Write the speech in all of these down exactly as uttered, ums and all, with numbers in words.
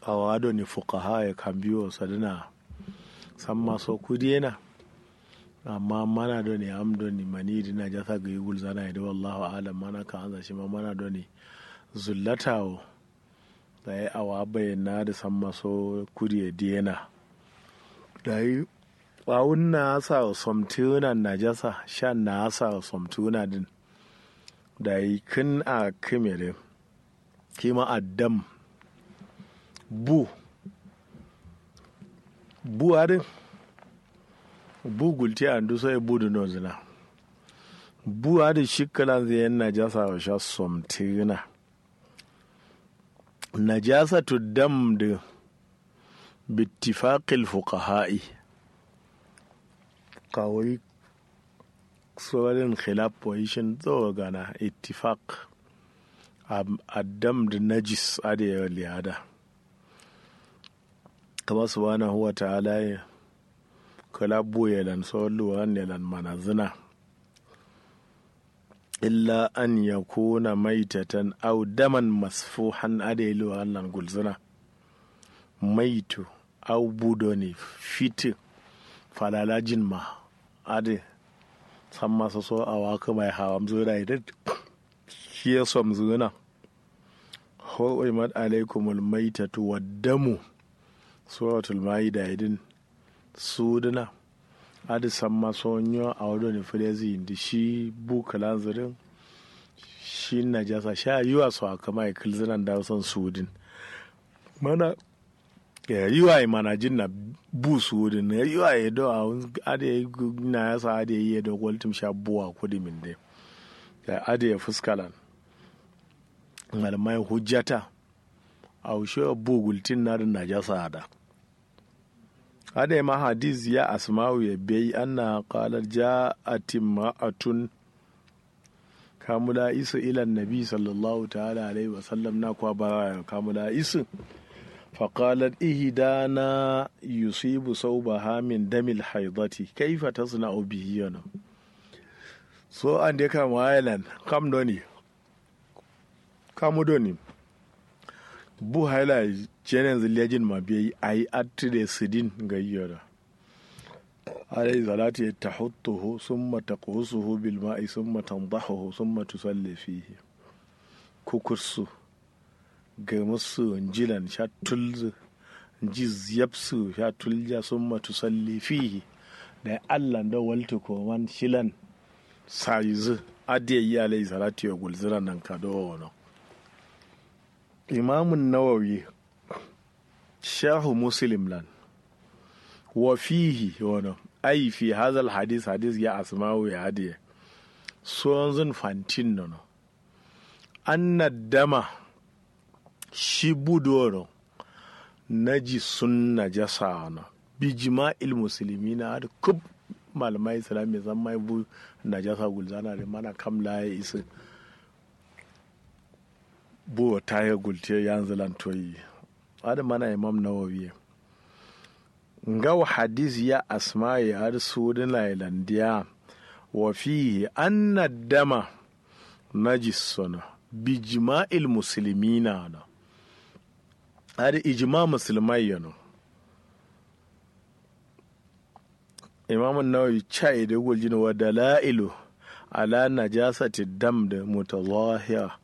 awa doni fukaha ye kambiwo sadǝna. Samma so kudiyena. Amma mana doni am doni mani dǝ najasa gǝyi gulzana ye dǝ wallahu alam mana ka'anza shima mana doni zullata wo. Dayi awa bayyana dǝ samma so kudiye diyena. Dayi awun na'asa wo somtǝgǝna najasa sha na'asa wo somtǝgǝna dǝn. Dayi kǝn a kǝme dǝ. Kima addam. Bu. Bu adǝ. Bu gultiya nduso ye bu dǝ nozǝna. Bu adǝ shi kǝlanzǝ yen najasa wo sha somtǝgǝna. Najasatu dam dǝ bittifaqil fuqaha'i. Kawai sorin khilaf position tsawo gana ittifaq. Addam dǝ najis adǝ ye liyada. Kama subhanahu wa ta'ala ye kǝla bu yelan so luwan yelan manazǝna. Illa an yakuna maitatan aw daman masfuhan adǝ ye luwan lan gulzǝna. Maitu aw bu doni fitǝ falalajin ma adǝ. Samma so so awa kǝma ye hawam zǝna ye dǝ. Shi ye somzǝna. Hurrimat alaikumul maitatu waddamu. Suratul ma'ida ye dǝn. Sudǝna. Adǝ samma so nyo awo doni fǝlezǝ yindi shi bu kǝlanzǝ dǝn. Shi najasa sha yuwa so akama ye kǝlzǝna nda son sudǝn. Mana yuwa ye manajin na bu sudǝn yuwa ye do awun adǝ ye. Nayasa adǝ ye do goltǝm sha bu wa kudǝmin dǝ. Adǝ ye fuskalan. Malmai hujjata. Awo shi bu gultin nadǝ najasa ada. Adai ma hadis ya asma'u ye biyai anna qalat ja'at imra'atun. Kamula isu ila nabi sallallahu ta'ala alaihi wa sallam na kwa bara kamula isu. Faqalat ihdana yusibu saubaha min damil haidati kaifa tasna'u bihi yana. So ande kam wayelan kam doni. Kamu doni. Bu haila cenen zillejin ma biyai ayi attǝ de sǝdin ngai yoda. Alai salatu ye tahuttuhu summa taqhusuhu bil ma'i summa tandahuhu summa tusalli fihi. Kukursu. Gǝmǝssu njilan sha tulzǝ. Nji ziyabsu sha tulja summa tusalli fihi. Dai allan do waltǝ koman shilan. Sayizǝ. Adǝ ye yi alai salatu ye gulzǝna nanka do wono. Imamun nawawi. Sharhu muslim lan. Wa fihi wono ai fi hazal hadis hadis ya asma'u ya adǝ ye. Sonzǝn fantin nono. Anna dama. Shi bu doro. Najisun najasa wono. Bijima'il muslimina adǝ kub. Malmai islam ye zammai bu najasa gulzana dǝ mana kam la ye isǝ. Bu tahe gultiye yanzǝ lan toyi. Adǝ mana imam nawawi ye. Ngawo hadis ya asma'i adǝ sudǝna ye landiya. Wa fihi anna dama. Najis sono. Bijima'il muslimina no. Adǝ ijima musulmai yeno. Imamun nawawi cayi dǝ guljin wa dala'ilu. Ala najasati dam dǝ mutazahira.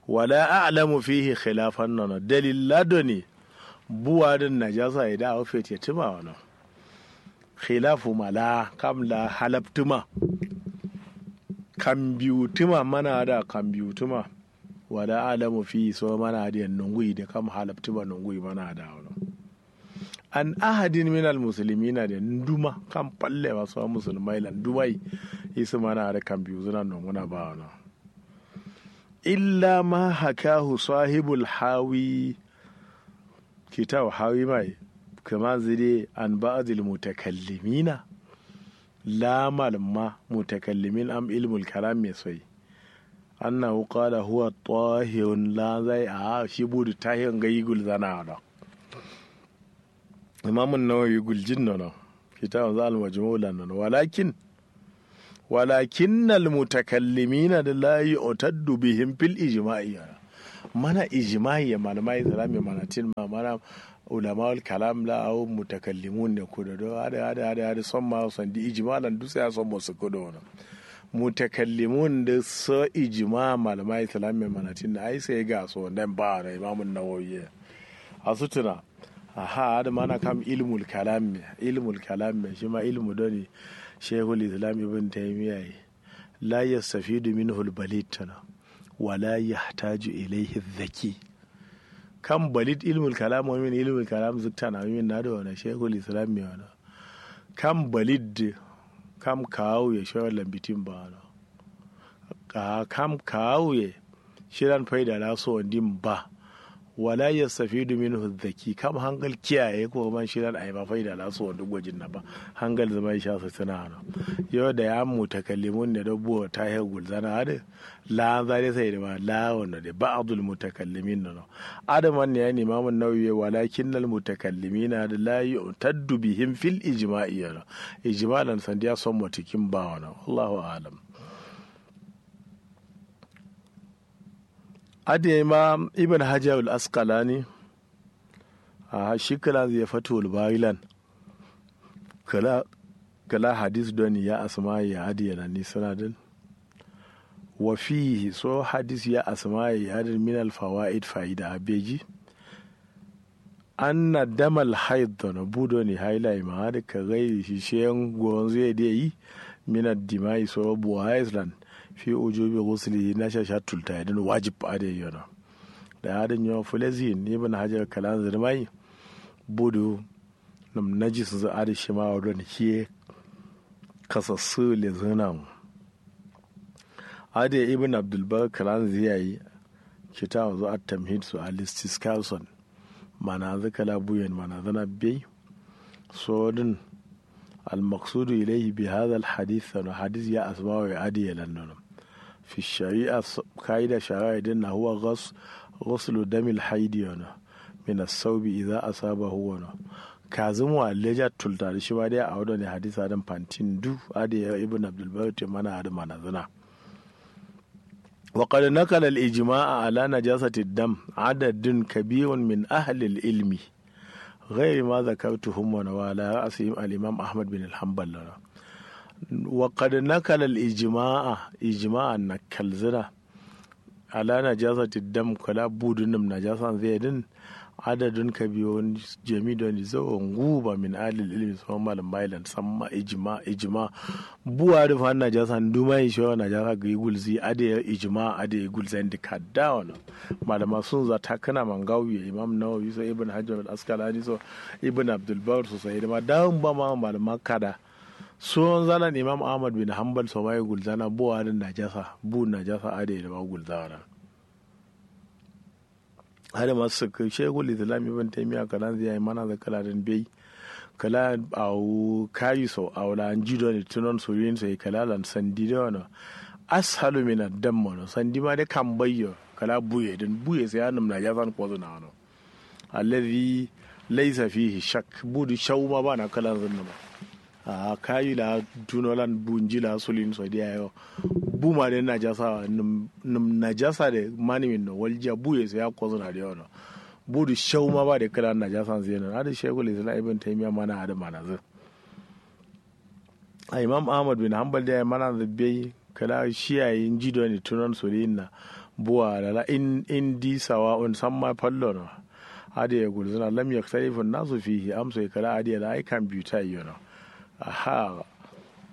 Wala a'lamu fihi khilafan nono dalilla doni. Buwa dǝn najasa ye da awo fete tǝma wono. Khilafu ma la kam la halabtǝma. Kambiwutǝma mana ada kambiwutǝma. Wala a'lamu fihi so mana ada yen nonguyi de kam halabtǝma nonguyi mana ada wono. An ahadin minal muslimina de nduma kam falle ma so musulmai lan ndumai. Isǝ mana ada kambiwutǝna nonguna ba wono. Illa ma hakahu sahibul hawi. Kitawu hawi mai. Kǝmanzǝ de an ba'adil mutakallimina. La malǝmma mutakallimin am ilmul kalam me soi. Annahu qala huwa tahirun la zai a shi budu tahir ngai gulzana do. Imamun nawawi guljin nono. Kitawu za almajmu lan nono walakin. Walakinnal mutakallimina da la yu'taddu bihim fil ijma'i. Mana ijimai ye malama islam ye manatin ma mana ulamaul kalam la awo mutakallimun ne kudo do adǝ adǝ adǝ adǝ son ma sandi ijima lan dusa ya son mo sǝkkudo no. Mutakallimun dǝ so ijima malama islam ye manatin ai sai ga so nden ba no imamun nawawi ye. Asutuna. Aha adǝ mana kam ilmul kalam me ilmul kalam me shima ilmu doni shehul islam ibn taymiya ye. La yastafidu minhul balid tana wala yahtaju ilaihi dhaki. Kam balid ilmul kalam wa min ilmul kalam zǝktana wa min nado wana shehul islam me wana. Kam balid kam kawu ye shawar lambitin ba wana. Kam kawu ye shiran faida la so wandin ba. Wala yastafidu minhu dhaki kam hangal kiyaye ko man shiran ai ma faida la so wandin gojin na ba. Hangal zama isha su tana no. Yo da ya mutakallimun ne do bo ta he gulzana adǝ. La an zare sai da ma la wano de ba'dul mutakallimin no. Adǝ man ne ya ni imamun nawawi walakinnal mutakallimina adǝ la yu'taddu bihim fil ijma'i no. Ijma lan sandiya son motikin ba wano. Allahu alam. Adǝ yayi ma ibn hajar al asqalani. Aha shi kǝlanzǝ ye fatul bari lan. Kǝla kǝla hadis doni ya asma'i ya adǝ ye lan ni sǝna dǝn. Wa fihi so hadis ya asma'i ya adǝ minal fawaid faida a beji. Anna damal haid dono bu doni haila ye ma adǝ ka gairi shi shiyen gonzu ye dǝ yayi. Minal dima'i so buwa islan fi ujubi guslihi nasha sha tulta ye dǝn wajib adǝ ye yono. Da adǝ nyo fulaziyin ibn hajar kǝlanzǝ dǝ mai. Budu nǝm najis nzǝ adǝ shima wado nǝ kiye. Kasassǝ lezǝna mu. Adǝ ye ibn abdulbar kǝlanzǝ yayi. Kitawanzǝ at-tamhid so al-istiskar son. Mananzǝ kala buyen mananzǝna bei. Sodǝn. Almaksudu ilaihi bi hadha alhadis sano hadis ya asmawo ye adǝ ye lan nono. Fi shari'a kaida shari'a ye dǝn na huwa ghaslu damil haidi yono. Min assaubi idha asabahu wono. Kazǝm wa leja tulta dǝ shima dai awo done hadis adǝn fantin du. Adǝ ye ibn abdulbar te mana adǝ manazǝna. Wa qad nakala al ijma'a ala najasati dam adadun kabirun min ahli al ilmi. Ghairi ma zakartuhum wa ala ra'sihim al imam ahmad bin al hanbal. Wa qad nakala al ijma'a ijma'a nakalzǝna. Ala najasati dam kala bu dǝnǝm najasanzǝ ye dǝn. Adadun kabiyo jami doni zawo nguba min alil ilmi suma malum mailan samma ijma ijma. Bu adǝ fan najasa nduma isho najasa gǝyi gulzi adǝ ye ijma adǝ ye gulzan dǝ kadda wano. Malama sunza takkǝna ma ngawu ye imam nawawi so ibn hajar al askalani so ibn abdulbar so sai dǝma dawun ba ma malama kada. Suwon zalan imam ahmad bin hanbal so ma ye gulzana bu adǝ najasa bu najasa adǝ ye dǝma gulzana. Adǝ ma sǝkkǝ shekul islam ibn taimiya kǝlanzǝ yayi mananzǝ kǝla dǝn bei. Kǝla awo kayi so awo la nji done tunon surin so ye kǝla lan sandi dǝ wano. Ashalu min addam wano sandi ma dǝ kambai yo kǝla buye dǝn buye so ya nǝm najasan kozǝna wano. Allazi laisa fihi shak bu dǝ shau ma bana kǝlanzǝn nǝma. Ahh kayi la tuno lan bu nji la sulin so diya yo. Bu ma dai najasa nǝm najasa dai manimin no waljiya bu ye so ya kozǝna dai wono. Bu dǝ shau ma ba dai kǝla najasan zai no adǝ shekul islam ibn taimiya mana adǝ manazǝ. Ahh imam ahmad bin hanbal dai manazǝ bai kǝla shi yayi nji done tunon sulin na. Bu wa lala indi sawa'un samma fallo no. Adǝ ye gulzǝna lam yaktalifu nasu fihi amso ye kǝla adǝ ye la ai kambiyu ta yi yono. Ahha.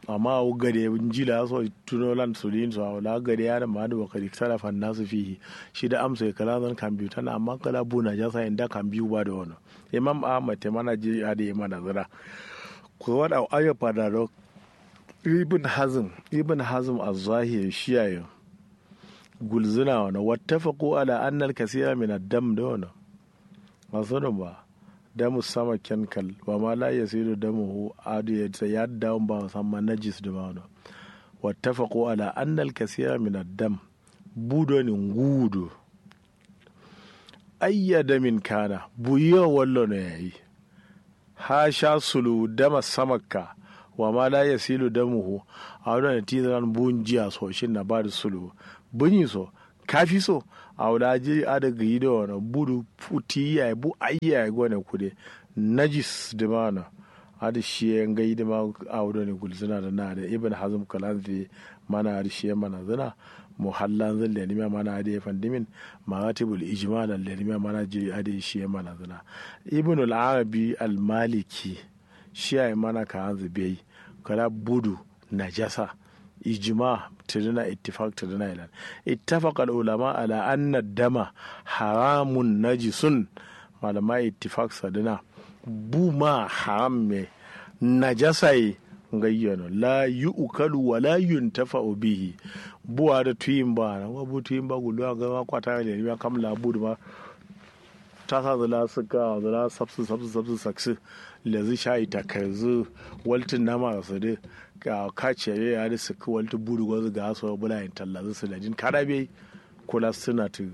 Amma awo gade nji la so tuno lan sulin so awo la gade ya dǝ ma dǝ wa kad iktalafa nasu fihi. Shi dǝ amso ye kǝla zan kambiyu tana amma kǝla bu najasa ye nda kambiyu ba dǝ wono. Imam ahmad te mana ji adǝ ye manazǝna. Kowad awo ayo fadado. Ibn hazm ibn hazm azzahiri shi yayi. Gulzǝna wono wattafaqu ala anna alkasira min addam dǝ wono. Masono ba. Damu sama kenkal wa ma la yasilu damuhu adǝ ye sai ya dawun ba samma najis dǝ ma wono. Wattafaqu ala anna alkasira min addam. Bu doni nguwu dǝ. Ayya damin kana bu yo wallono yayi. Ha sha suluwu dama samakka. Wa ma la yasilu damuhu. Awo done tizǝnan bu njiya so shin na ba dǝ suluwu. Bǝnyi so kafi so. Awo da jiri adǝ gǝyi do wono budu futi yayi bu ayyayi gone kude. Najis dǝma no. Adǝ shiye ngai dǝma. Awo done gulzǝna dǝ na dǝ ibn hazm kalanzǝ ye. Mana adǝ shiye manazǝna. Muhallanzǝ lenimiya mana adǝ ye fandimin. Maratibul ijma lan lenimiya mana jiri adǝ ye shiye manazǝna. Ibnul arabi al maliki. Shiyayi mana kalanzǝ beyi. Kala budu najasa. Ijma tǝdǝna ittifak tǝdǝna ilan. Ittafakal ulama ala anna dama haramun najisun. Malama ittifak sadǝna. Bu ma haram me. Najasa ye. Ngayyano la yu'kalu wala yuntafa'u bihi. Bu adǝ tuyin ba na bu tuyin ba gulwa gama kwata ne ya kam la bu dǝma. Tasa zǝla sǝkka zǝla sabsǝ sabsǝ sabsǝ saksǝ. Lezǝ shayi takarzǝ. Waltǝ nama sǝdǝ. Ka kace ye adǝ sǝkkǝ waltǝ budu gozǝ ga so bula yin tallazǝ sǝladin kada bai. Kula sǝna tǝ.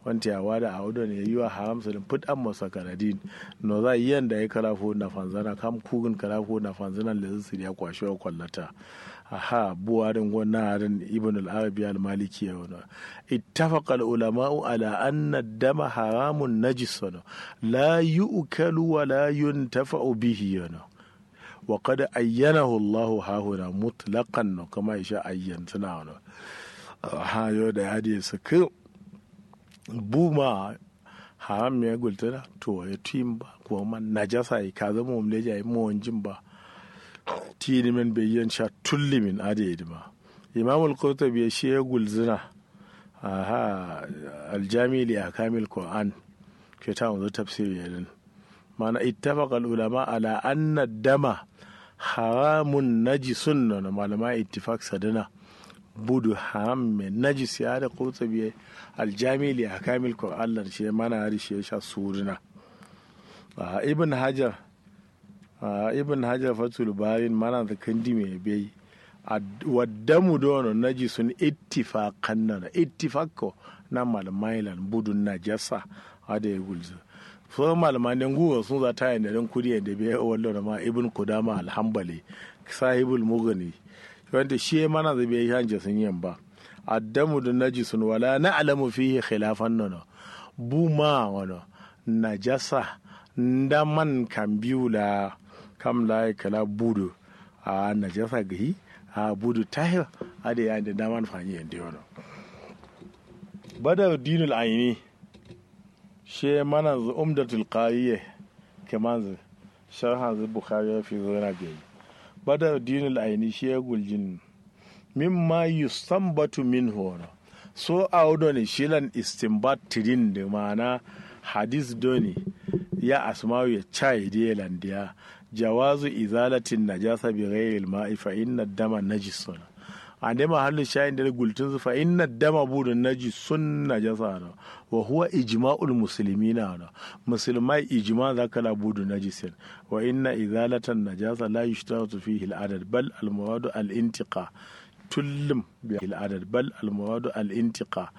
Wanti awa da awo done yiwa haram sǝdǝn fǝt amma sakaradin. Noza yiyan da ye kala fu nafanzana kam kugǝn kala fu nafanzana lezǝ sǝdiya kwashe wa kwallata. Aha bu adǝn go na adǝn ibn al-arabi al-maliki ya wono. Ittafaqa al-ulama'u ala anna dama haramun najis wono. La yu'kalu wa la yuntafa'u bihi wono. Wa qad ayyanahu Allahu hahuna mutlaqan no kama isha ayyan suna wono. Aha yo da ya de saka. Bu ma haram me gultǝna. To ya tuyin ba kuma najasa yi kaza mom leja yi mowonjin ba. Tini men bayyan sha tullimin adǝ ye dǝma. Imamul qurtubi ya shi ya gulzǝna. Aha. Aljami li ahkamil qur'an. Ke ta wanzu tafsiri ya dǝn. Mana ittafakal ulama ala anna dama haramun najisun nono malama ittifak sadǝna. Budu haram me najis ya adǝ qurtubi ya. Aljami li ahkamil qur'an lan shi ya mana adǝ shi ya sha suruna. Ibn hajar. Ibn hajar fathul barin mana da kandi me bai. Waddamu dono najisun ittifakan nana ittifakko. Na malmailan budun najasa. Adǝ ye gulzǝ. So malmande nguwo sun za ta yende don kudi yende bai wallo na ma ibn kudama alhambali. Sahibul mugani. Wanda shi ya mana zǝ bai hanje sun yin ba. Addamu dun najisun wala na'lamu fihi khilafan nono. Bu ma wono. Najasa. Ndaman kambiwu la. Kam la ya kala budu. A najasa gahi. A budu tahir. Adǝ ya inde ndaman fanyi yende wono. Badar dinul aini. She mananzǝ umdatul qariye. Kemanzǝ sharhanzǝ bukhari ya fizǝ gǝna beyi. Badar dinul aini she guljin. Mimma yustambatu minhu wono. So awo done shilan istimbat tidin dǝ ma'ana. Hadis done. Ya asma'u ya cayi diye landiya. Jawazu izalatin najasa bi ghairil ma'i fa inna dama najis wono. Ande mahallu shayin dǝ gultǝnzǝ fa inna dama budu najisun najasa wono. Wa huwa ijma'ul muslimina wono. Musulmai ijma za kala budu najisin. Wa inna izalatan najasa la yushtaratu fihi al-adad bal al-muradu al-intiqa. Tullum biya al-adad bal al-muradu al-intiqa.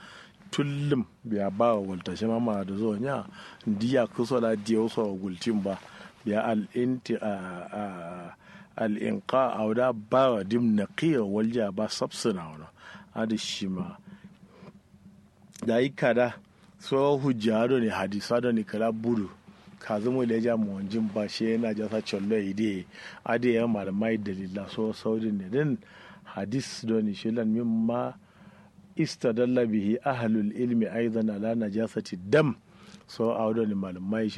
Tullum biya bawa walta shima ma da zo nya. Ndiya kuso la diya uso gultin ba. Biya al-inti al-inqa awda bawa dim naqiya walja ba sabsuna wono. Adǝ shima. Dayi kada. So hujja done hadisa done kala budu. Kazǝ muleja muwanjin ba she najasa collo ye diye. Adǝ ye malmai dalilla so saudin ne dǝn. Hadis done shilan mimma istadalla bihi ahlul ilmi aidan ala najasati dam. So awo done malmai shilan.